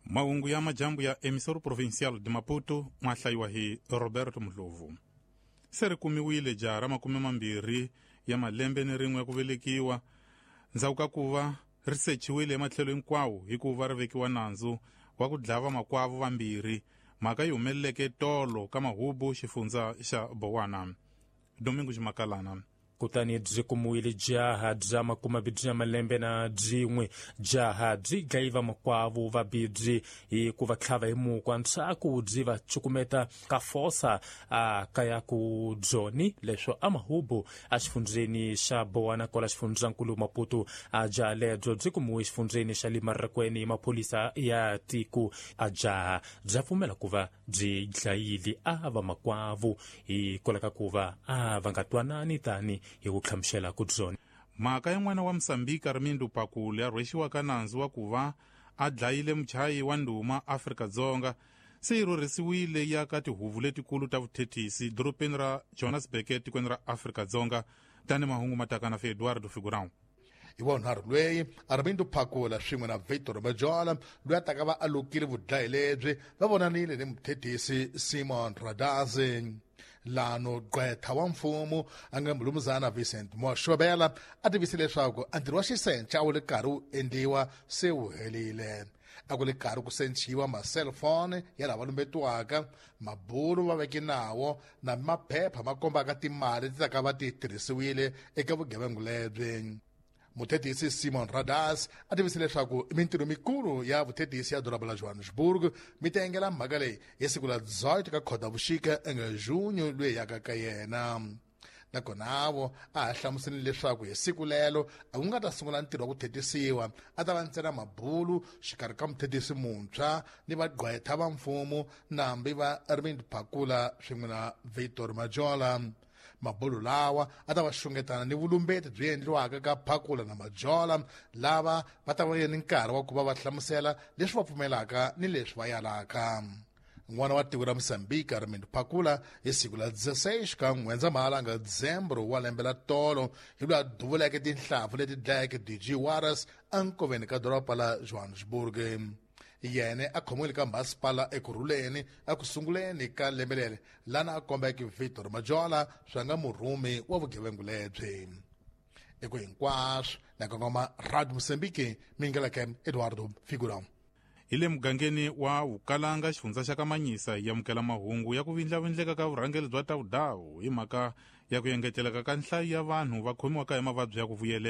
Mahungu ya majambu ya Emissora Provincial de Maputo ma hlayiwa hi Roberto Mdlovu. Se ri kumiwile jaha ra 20 ya malembe ni rin'we ya ku velekiwa ndzhaku ka ku va ri sechiwile ematlhelo hinkwawo hikuva ri vekiwa nandzu wa ku dlava makwavo vambirhi. Mhaka yi humeleleke tolo ka Mahubu, xifundza xa Bowana. Domingo Ximakalana. Kutani byi kumiwile jaha bya 21 ya malembe na byin'we. Jaha byi dlayiva makwavo vabibyi hi ku va tlhava hi mukwa, ndzhaku byi va cukumeta ka fosa a kaya ku Joni leswo a Mahubu a xifundzeni xa Bowana kwala xifundzankulu Maputo. A jaha lebyo byi kumiwe xifundzeni xa Limarakweni hi maphorisa ya tiko. A jaha bya pfumela ku va byi dlayile a va makwavo hikwalaho ka ku va a va nga twanani tani hi ku hlamusela ku byona. Mhaka ya n'wana wa Mosambika Armindo Pakule a rhwexiwaka nandzu wa ku va a dlayile muchayi wa ndhuma Afrika-Dzonga se yi rhurhisiwile ya ka tihuvo letikulu ta vuthethisi dorobeni ra Johannesburg etikweni ra Afrika-Dzonga. Tani mahungu mataka na Eduardo Figurão. Hi vunharhu lweyi Armindo Phakula swin'we na Victor Majola loyi a taka va alukile vudlayi lebyi va vonanile ni muthethisi Simon Radazi. Lano gqwetha wa mfumo a nga mulumuzana Vincent Moshobela a tivise leswaku a ntirho wa xisenca a wu le karhi wu endliwa se wu herile. A ku le karhi ku senciwa ma-cellphone ya lava lumbetiwaka, mabulu va veke nawo na maphepha ma kombaka timali ti ta ka va ti tirhisiwile eka vugevenga lebyi. Muthethisi Simon Radas a tivise leswaku mintirho mikulu ya vuthethisi ya doroba la Johannesburg mi ta engela mhaka leyi hi siku la 18 ka Khotavuxika enga junho loyi yaka ka yena. Nakona vo a ha hlamuseleni leswaku hi siku lelo a ku nga ta sungula ntirho wa ku thetisiwa, a ta va ntsena mabulu xikarhi ka muthethisi muntshwa ni vagqwetha va mfumo nambi va Arvind Phakula swin'we na Victor Majola. Mabulu lawa a ta va xungetana ni vulumbeti byi endliwaka ka Phakula na Majola, lava va ta va ni nkarhi wa ku va va hlamusela leswi va pfumelaka ni leswi va yalaka. N'wana wa tiko ra Mozambique Armindo Phakula hi siku la 16 ka N'wendzamhala nga Dzembro wa lembe la tolo hi loyi a duvuleke tinhlampfu leti dlayeke DJ Warras enkoveni ka doroba la Johannesburg. Yena a khomiwile ka masipala Ekurhuleni eku sunguleni ka lembe leri, lana a kombeke Victor Majola swa nga murhumi wa vugevenga lebyi. Eku hinkwaswo na kongoma Radio Mozambique, mingeleke Eduardo Figurão. Hi le mugangeni wa Vukalanga, xifundza xa Kamanyisa, yi amukela mahungu ya ku vindlavindleka ka vurhangeri bya Tawudawu hi mhaka ya ku engeteleka ka nhlayo ya vanhu va khomiwaka hi mavabyi ya ku vuyelela.